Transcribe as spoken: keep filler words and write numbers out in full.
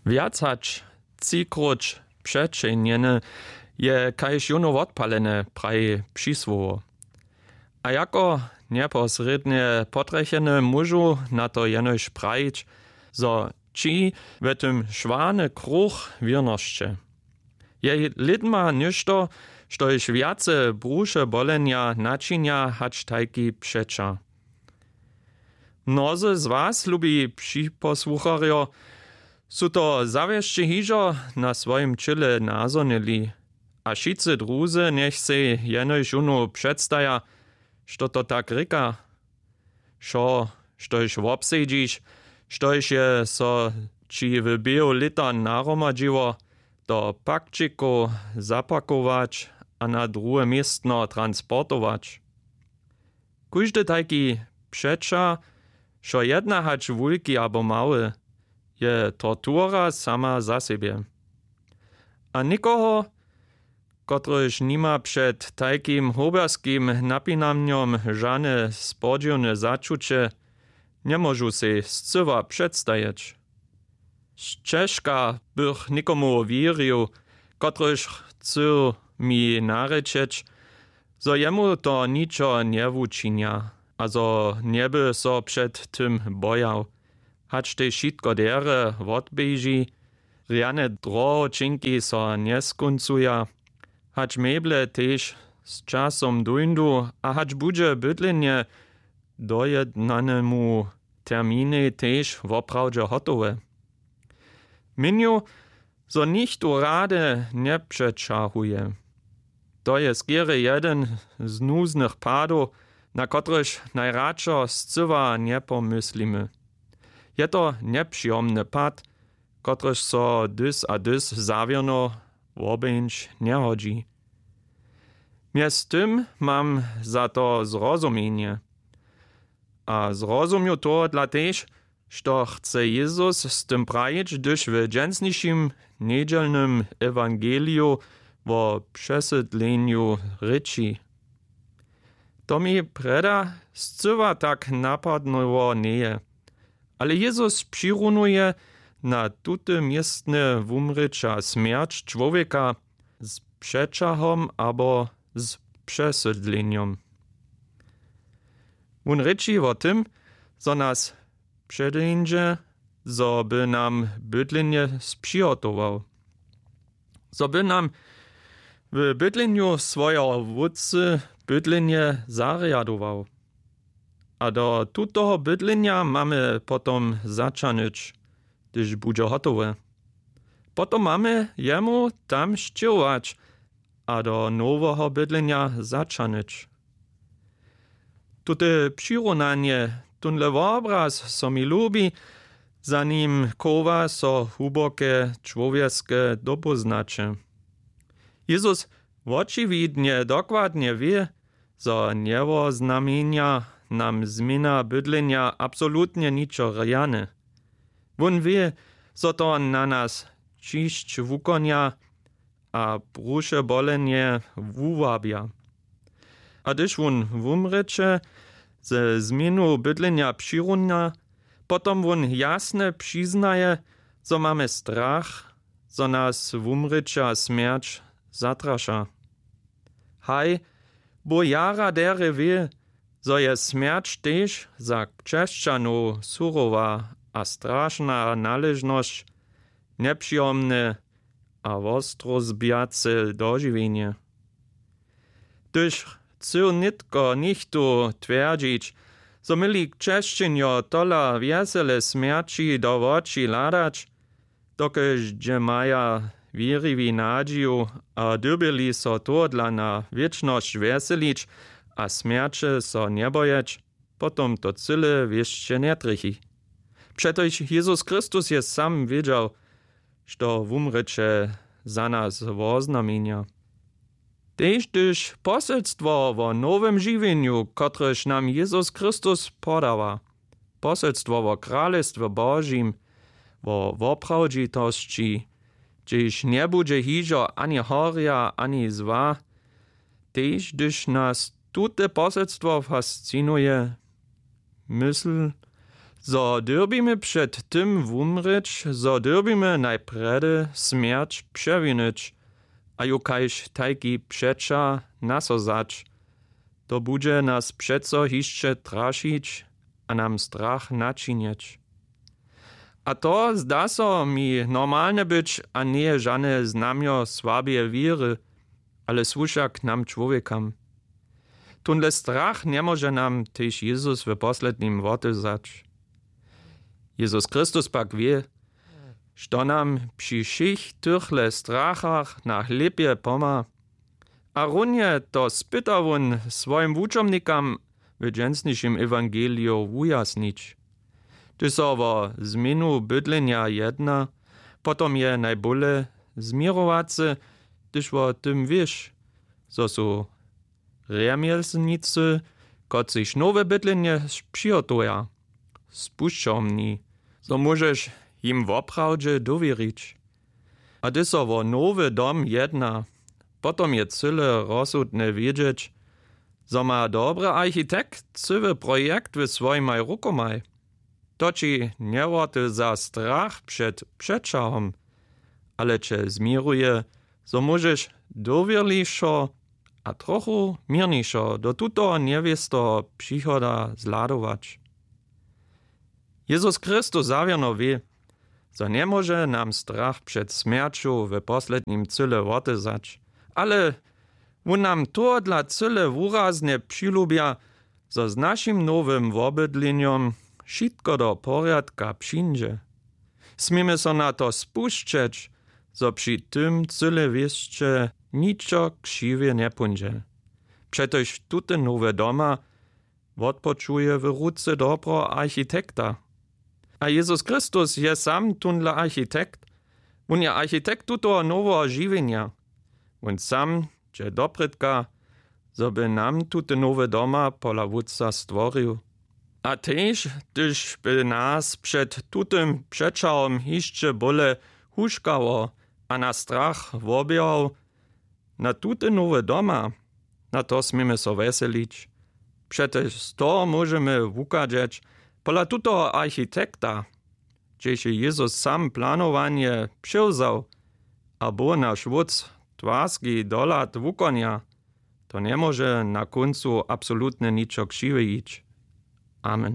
Wjac hač třikróć přećehnjene je kaž jónu wotpalene, praji přisłowo. A jako njeposrědnje potrjecheny móžu na to jenož prajić, zo či w tym šwarny kruch wěrnosće. Je lědma něšto, štož wjace bruše bolenja načinja hač tajki přećah. Mnozy z was, lubi připosłucharjo, su to zawěsće hižo na swojim ćěle nazhonili. A wšitcy druzy njech sej jenož jónu předstaja, što to tak rěka. Wšo, štož wobsedźiš, štož je so ći w běhu lěta nahromadźiło, do pakćikow zapakować a na druhe městno transportować. Kóždy tajki přećah, wšo jedna hač wulki abo mały, je tortura sama za sebje. A někoho, kotryž nima před tajkim hobjerskim napinanjom žane spodźiwne začuće, njemóžu sej scyła předstajeć. Sćežka bych někomu wěrił, kotryž chcył mi narěčeć, zo jemu to ničo njewučinja a zo njeby so před tym bojał, hač tež wšitko derje wotběži, rjane drohoćinki so njeskóncuja, hač meble tež z časom dóńdu a hač budźe bydlenje dojednanemu terminej tež woprawdźe hotowe. Měnju, zo nichtó rady njepřećahuje. To je skerje jedyn z nuznych padow, na kotryž najradšo scyła njepomyslimy. Je to njepřijomny pad, kotryž so dys a dys zawěrno wobejńć njehodźi. Mjeztym mam za to zrozumjenje. A zrozumju tohodla tež, što chce Jezus z tym prajić, hdyž w dźensnišim njedźelnym ewangeliju wo přesydlenju rěči. To mi prjeda scyła tak napadnyło njeje. Ale Jezus přirunuje na tute městne wumrěća smjerć čłowjeka z přećahom abo z přesydlenjom. Wón rěči wo tym, zo nas předeńdźe, zo by nam bydlenje spřihotował, zo by nam w bydlenju swojeho wótcy bydlenje zarjadował. A do tutoho bydlenja mamy potom zaćahnyć, hdyž budźe hotowe. Potom mamy jemu tam sćěhować a do noweho bydlenja zaćahnyć. Tute přirunanje, tónle wobraz so mi lubi, za nim chowa so hłuboke čłowjeske dopóznaće. Jezus wočiwidnje dokładnje wě, zo njewoznamjenja nam změna bydlenja absolutnje ničo rjane. Wón wě, zo to na nas ćišć wukonja a bruše bolenje wuwabja. A hdyž wón wumrěće ze změnu bydlenja přirunja, potom wón jasnje přiznaje, zo mamy strach, zo nas wumrěća smjerć zatraša. Haj, Bóh jara derje wě, zo je smjerć tež za křesćanow surowa a strašna naležnosć, njepřijomne a wostrozbjace dožiwjenje. Hdyž chcył nětko něchtó twjerdźić, zo měli křesćenjo tola wjesele smjerći do woči hladać, dokelž dźe maja wěriwi nadźiju a dyrbjeli so tohodla na wěčnosć wjeselić a smjerće so njebojeć, potom to cyle wěsće njetrjechi. Přetož Jezus Chrystus je sam wědźał, što wumrěće za nas woznamjenja. Tež hdyž poselstwo wo nowym žiwjenju, kotrež nam Jezus Chrystus podawa, poselstwo wo kralestwje Božim, wo woprawdźitosći, hdźež njebudźe hižo ani horja, ani zła, tež hdyž nas tute poselstwo fascinuje, mysl, Zo dyrbimy před tym wumrěć, zo dyrbimy najprjedy smjerć přewinyć a ju kaž tajki přeća nasozać, to budźe nas přeco hišće trašić a nam strach načinjeć. A to zda so mi normalne być a njeje žane znamjo słabje wěry, ale słuša k nam čłowjekam. Tónle strach njemóže nam tež Jezus w poslednim wotewzać. Jezus Chrystus pak wě, što nam při wšěch tychle strachach na chlěpje pomha. A runje to spyta wón swojim wučomnikam w dźensnišim ewangeliju wujasnić. Hdyž so wo změnu bydlenja jedna, potom je najbóle změrowace, hdyž wo tym wěš, zo su rjemjeslnicy, kotřiž nowe bydlenje přihotowja, spušćomni, zo móžeš jim woprawdźe dowěrić. A hdyž so wo nowy dom jedna, potom je cyle rozsudne wědźeć, zo ma dobry architekt cyły projekt w swojimaj rukomaj. To ći njeworty za strach před přećahom, ale će změruje, zo móžeš dowěrlišo a trochu měrnišo do tutoho njewěsteho přichoda zhladować. Jezus Chrystus zawěrno wě, zo njemóže nam strach před smjerću w poslednim cyle wotezać, ale wón nam tohodla cyle wuraznje přilubja, zo z našim nowym wobydlenjom wšitko do porjadka přińdźe. Směmy so na to spušćeć, zo při tym cyle wěsće ničo křiwje njepóńdźe. Přetož tute nowe doma wotpočuje w ruce dobreho architekta. A Jezus Chrystus je sam tónle architekt. Wón je architekt tutoho noweho žiwjenja. Wón sam dźe doprědka, zo by nam tute nowe doma pola Wótca stworił. A tež hdyž by nas před tutym přećahom hišće bóle huškało a na strach wobjał, na tute nowe doma, na to směmy so wjeselić. Přetož z toho móžemy wuchadźeć pola tutoho architekta, hdźež je Jezus sam planowanje přewzał a Bóh naš Wótc twarski dohlad wukonja, to njemóže na kóncu absolutnje ničo křiwe jić. Amen.